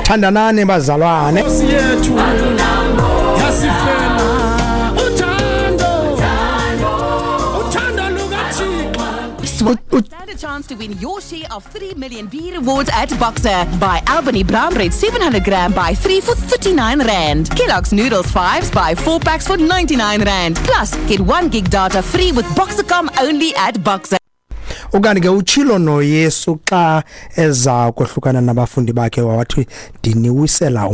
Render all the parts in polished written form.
Thandanani bazalwane. Nkosi yethu yasifela uthando, uthando lukaThixo. Stand a chance to win your share of 3 million B rewards at Boxer. Buy Albany Brown Bread 700 gram, buy 3 for 39 Rand. Kellogg's Noodles 5s, buy 4 packs for 99 Rand. Plus, get 1 gig data free with Boxercom only at Boxer. Ukanti ke utshilo noYesu xa eza kohlukana nabafundi bakhe, wathi ndiniwisela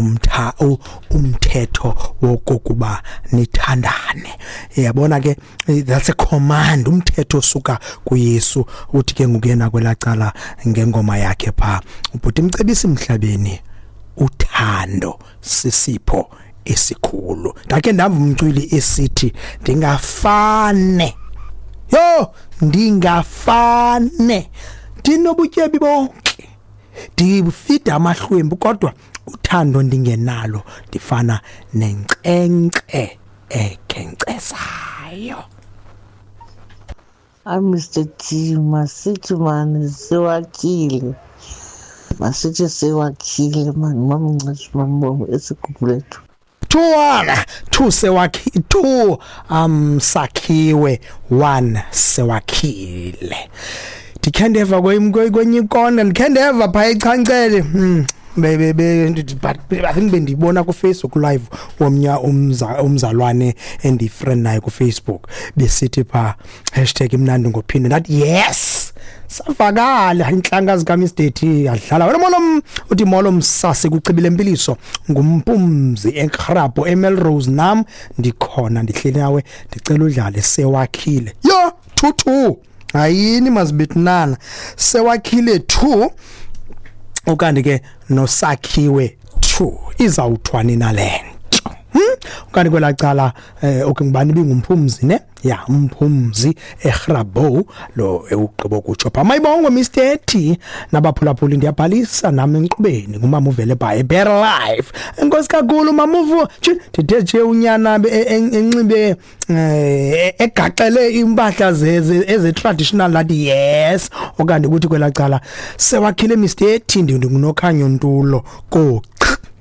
umthetho wokokuba nithandane. Yabona ke, that's a command, umthetho osuka kuYesu. Uthi ke ngukuyena kwelacala ngengoma yakhe pha ubhuti Mcebisi emhlabeni, uthando sisipho esikhulu. Ndakhe ndamva umculi esithi ndingafane, yo, ndingafane ndinobutyebi bonke, ndifida amahlwempu, kodwa uthando ndingenalo, ndifana nenkcenkce ekhenkcezayo. Hayi, Mr T, masithi mani siwakhile, masithi siwakhile mani, mamncesi mambongo esigugulethu. 2-1, 2 sewakhi, 2 Sakhiwe, 1 Sewakhile. Ndikhe ndeva kwenye ikona, ndikhe ndeva phaa eChancele, be be but I think bendibona ku Facebook live womnya umzalwane endifriend naye ku Facebook, besithi pha #imnandi ngophinde. Ndathi yes, savakala inhlanga zika Mr T adlala wena. Molo, uthi molo msasi kucibile empiliso ngumpumzi eKrabho eMelrose. Nam ndikhona, ndihleli nawe, ndicela udlale Sewakhile. Yo, 2-2, ayini mazibethinana, Sewakhile 2 ukanti ke noSakhiwe 2. Izawuthwani nalento? Ukanti kwelacala okay, ngubani bingumphumzi ne ya umphumzi eGrabou lo ewugqibo kutsho pha. Mayibongwe Mr T nabaphulaphuli, ndiyabhalisa nami enkqubeni, ngumama uvele by better life. Enkosi kakhulu mamuvu. Ndithe nje unyana enxibe egaxele impahla eze traditional, lathi yes. Okanye ukuthi kwelacala Sewakhile Mr T, ndingunokhanyo ntulo ko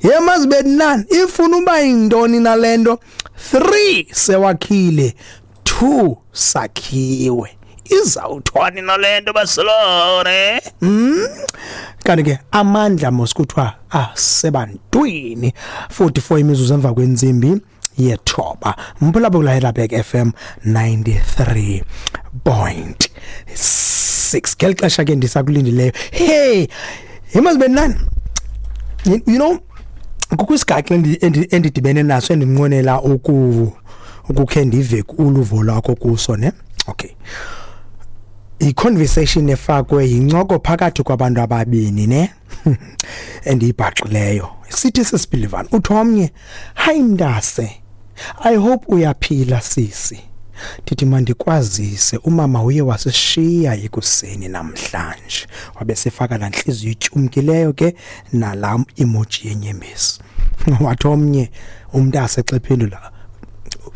ye mazibe nani, ifuna uba yintoni nalento? 3 Sewakhile, 2 Sakhiwe, izawuthwani nalento basolore? Kanti ke amandla mos kuthiwa asebantwini. 44 imizuzu emva kwentsimbi yethoba, mphulaphula kula FM 93.6. Ngeli xesha ke ndisakulindileyo, hey, imazibe nani, kukho isigaxa endidibene naso endinqwenela ukukhe ndive uluvo lwakho kuso ne. Okay, i-conversation efakwe yincoko phakathi kwabantu ababini ne endiyibhaqileyo, sithi sisibilivana. Uthi omnye, "Hayi mntase, I hope uyaphila sisi. Ndithi mandikwazise, umama uye wasishiya ekuseni namhlanje." Wabe sefaka laa ntliziyo ityumkileyo ke nalaa emoji yenyembezi. Wathi omnye umntase xa ephendula,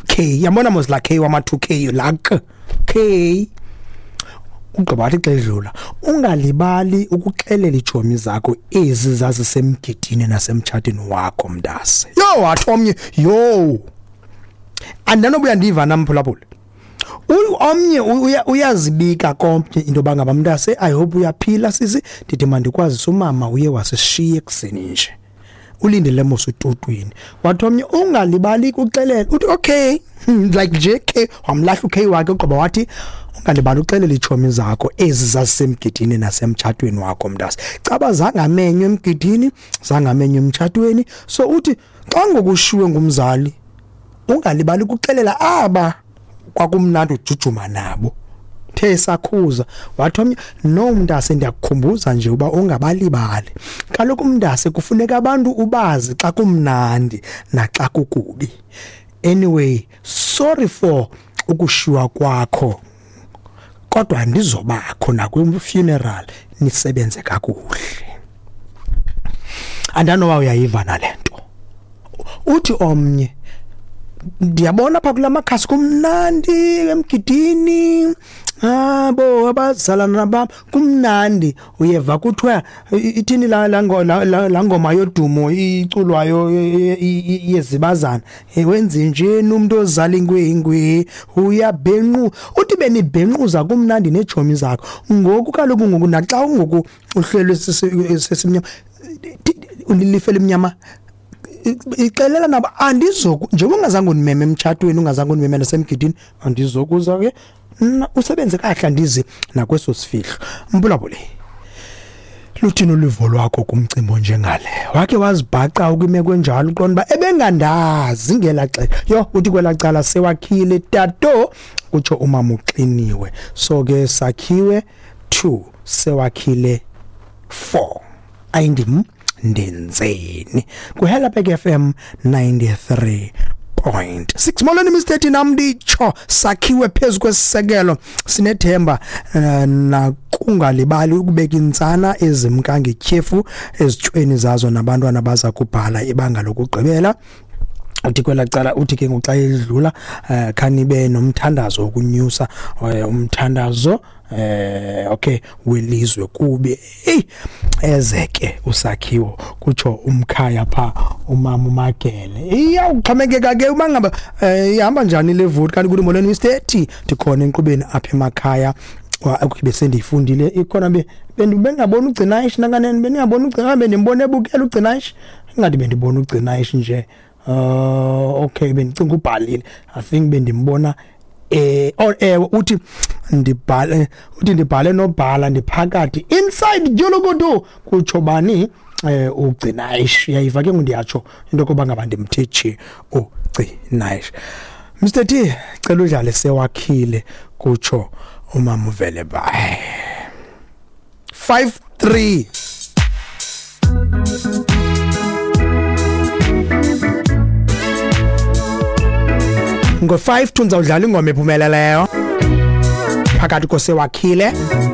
K, yabona mos la K wama 2 K, la K K. Ugqiba wathi xa edlula, "Ungalibali ukuxelela iitshomi zakho ezi zazisemgidini nasemtshatweni wakho mntase." Yho, wathi omnye, yho, andanobuya ndiva namphulaphula. Omnye uyazibika komnye into yoba ngaba, "Mntase, I hope uyaphila sisi, ndithi mandikwazise, umama uye wasishiya ekuseni nje, ulindele mos ututwini." Wathi omnye, "Ungalibali kuxelela." Uthi okay, like nje K, wamlahla uK wakhe. Ugqiba wathi, "Ungalibali uxelela iitshomi zakho ezi zazisemgidini nasemtshatweni wakho mntase." Caba zangamenywa emgidini, zangamenywa emtshatweni. So uthi xa ngokushiwe ngumzali, ungalibali ukuxelela aba kwakumnandi ujujuma nabo. The sakhuza wathi omnye, "No mntase, ndiyakukhumbuza nje uba ungabalibali. Kaloku mntase kufuneka abantu ubazi xa kumnandi naxa kukubi. Anyway, sorry for ukushiywa kwakho, kodwa ndizobakho nakwi-funeral, nisebenze kakuhle." Andanoba uyayiva nale nto. Uthi omnye, "Ndiyabona pha kula makhasi kumnandi emgidini. Abo abazalana bam kumnandi uyeva kuthiwa ithini la la ngoma yodumo iculwayo yezibazana, wenze njeni umuntu ozala ingwingwi uyabhenqu, uthi benibhenquza kumnandi nejomi zakho. Ngoku kaloku ngoku naxa ngoku uhlelwe sesimnyama ulife limnyama, ixelela nabo andizoku njengoba ungazange undimeme emtshatweni, ungazange undimeme nasemgidini, andizokuza ke usebenze kahle, andizi nakweso sifihlo. Mbulabule, luthini uluvo lwakho kumcimbi onjengale? Wake wazibhaqa ukwimeko enjalo, uqonda uba ebengandazi ngelaa xesha? Yho, uthi kwelaa cala sewakhile tato, kutsho umama uxiniwe. So ke sakhiwe 2, sewakhile 4. Ayindim ndenzeni kuHelapek FM 93.6. Molweni Mr T, nam nditsho sakhiwe phezu kwesisekelo, sinethemba nakungalibali ukubeka intsana ezimka ngetyhefu ezitshweni zazo nabantwana baza kubhala ibanga lokugqibela. Uthi kwelaa cala, uthi ke ngoku xa edlula khanibe nomthandazo wokunyusa umthandazo okay welizwe kube ezeke usakhiwo, kutsho umkhaya pha umama uMagele. Iyawuxhomekeka ke uma ngaba ihamba njani le vote. Kanti kuthi molweni Mr T, ndikhona enkqubeni apha emakhaya. Okay, besendiyifundile ikhona, bengabona ugcinayish nanganeni, bendingabona ugcina, bendimbona ebukela ugcinayish, ingathi bendibona ugcinayish nje. Okay, bendicinga ubhalile, I think bendimbona uthi ndibhale, uthi ndibhale nobhala ndiphakathi inside Julukudu, kutsho bani ugcinayish. Uyayiva ke ngundiyatsho into yokuba ngaba ndimthe ugcinayish. Mr T, cela udlale sewakhile, kutsho umama uvele bye. 5-3. Ngo-5 ndizawudlala ingoma ephumeleleyo phakathi kosewakhile.